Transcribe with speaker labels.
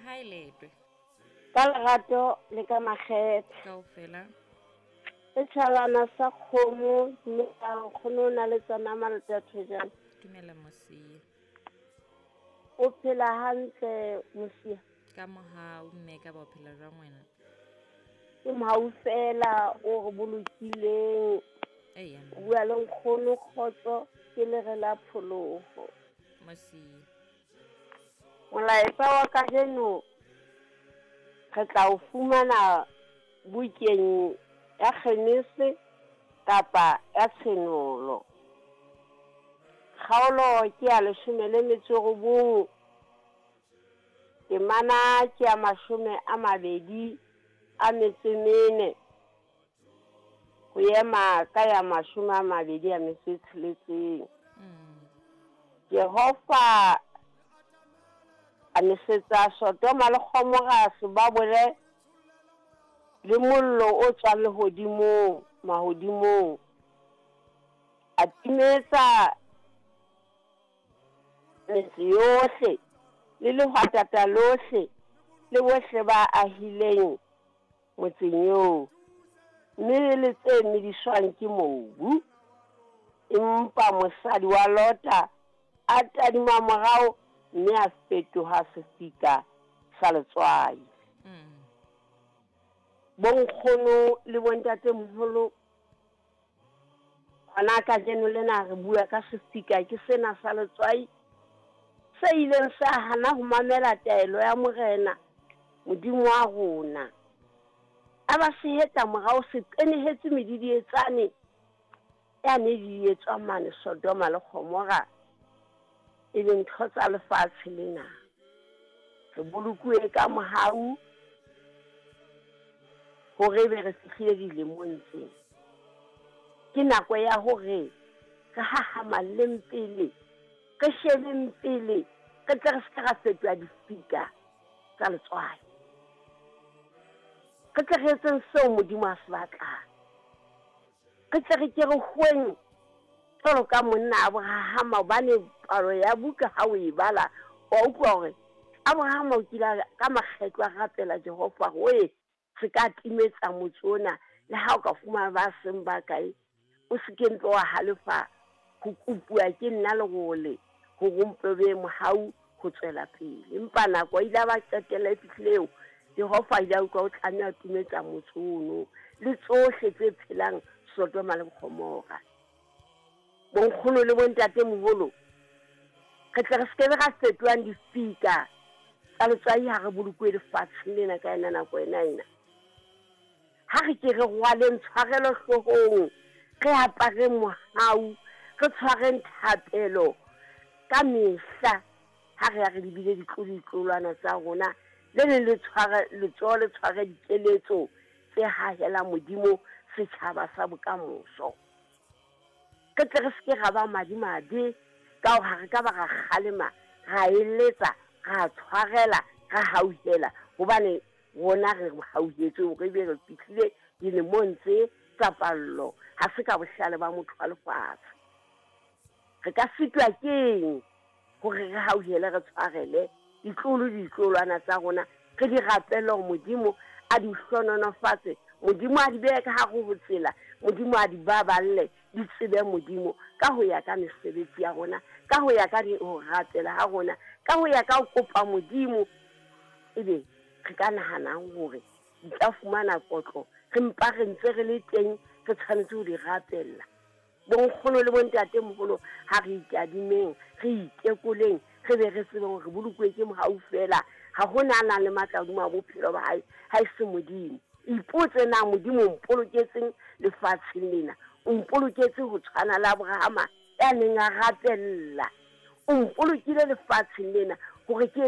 Speaker 1: Hae letwe.
Speaker 2: Ka lerato le ka makgethe.
Speaker 1: Kaofela.
Speaker 2: Setjhabana sa kgomo mme a nkgono o na le tsona malota thojana.
Speaker 1: Dumela Mosia.
Speaker 2: O phela hantle Mosia?
Speaker 1: Ka mohau mme ka ba o phela jwang wena?
Speaker 2: Ke mohau fela o re bolokileng.
Speaker 1: Eya.
Speaker 2: O bua le nkgono kgotso ke lere la pholoho.
Speaker 1: Mosia.
Speaker 2: Molaetsa wa kajeno re tla o fumana bukeng ya Genese kapa ya Tshenolo. Kgaolo ke ya 19, temana ke ya 24 ho ema ka ya 26. Jehova a nesetsa Sodoma le Gomora sebabole le mollo o tswang lehodimong, mahodimong. A timetsa metse yohle le lehwatata lohle le bohle ba ahileng motseng eo, mme le tse mediswang ke mobu. Empa mosadi wa Lota a tadima morao mme a fetoha sefika sa letswai. Bonkgono le bontatemoholo, hona kajeno lena re bua ka sefika ke sena sa letswai se ileng sa hana ho mamela taelo ya Morena Modimo wa rona. A ba sehetla morao se qenehetse medidietsane ya ne di etswa mane Sodoma le Gomora, e leng ntho tsa lefatshe lena. Re bolokuwe ka mohau hore ebe re fihlile dilemong tsena. Ke nako ya hore re hahamalleng pele, re shebeng pele, re tle re se ke ra fetoha difika tsa letswai. Re tle re etseng seo Modimo a se batlang. Re tle re ke re hweng jwalo ka monna Abrahama, hobane palo ya buka ha o e bala wa utlwa hore Abrahama o kile ka makgetlo a rapela Jehova hore se ka timetsa motse ona, le ha o ka fumana ba seng ba kae, o se ke mpe wa halefa ho kopuwa ke nna lerole hore o mpe be mohau ho tswela pele. Empa nako ile ba qetella e fihlile eo Jehova ile a utlwa o tlameha timetsa motse ono le tsohle tse phelang Sodoma le Gomora. Bonkgono le bontatemoholo, re tle re se ke be ra fetohang difika tsa letswai ha re bolokuwe lefatsheng lena ka yona nako ena ena. Ha re ke re rwaleng tshwarelo hloohong, re apareng mohau, re tshwareng thapelo ka mehla ha re ya re lebile ditlolo ditlolwana tsa rona, le leng le tshware letsoho le tshware dikeletso tse hahelang Modimo setjhaba sa bokamoso. Re tle re se ke ra ba madimabe ka hore ha re ka ba ra kgalema, ra eletsa, ra tshwarela, ra hauhela, hobane rona re hauhetswe hore ebe re fihlile dilemong tse tsa pallo. Ha se ka bohlale ba motho wa lefatshe. Re ka sitwa keng hore re hauhele, re tshwarele ditlolo ditlolwana tsa rona, re di rapele hore Modimo a di hlohonolofatse, Modimo a di behe ka hare ho tsela, Modimo a di baballe, di tsebe Modimo ka ho ya ka mesebetsi ya rona, ka ho ya ka ho rapela ha rona, ka ho ya ka ho kopa Modimo. Ebe re ka nahanang hore di tla fumana kotlo, re mpa re ntse re le teng, re tshwanetse ho di rapella. Bonkgono le bontatemoholo, ha re itadimeng, re itekoleng, re be re tsebe hore re bolokuwe ke mohau fela. Ha hona a nang le matla hodima bophelo ba hae ha e se Modimo. Ipotse na Modimo o mpoloketseng lefatsheng lena, o mpoloketse ho tshwana le Abrahama ya neng a rapella, o mpolokile lefatsheng lena hore ke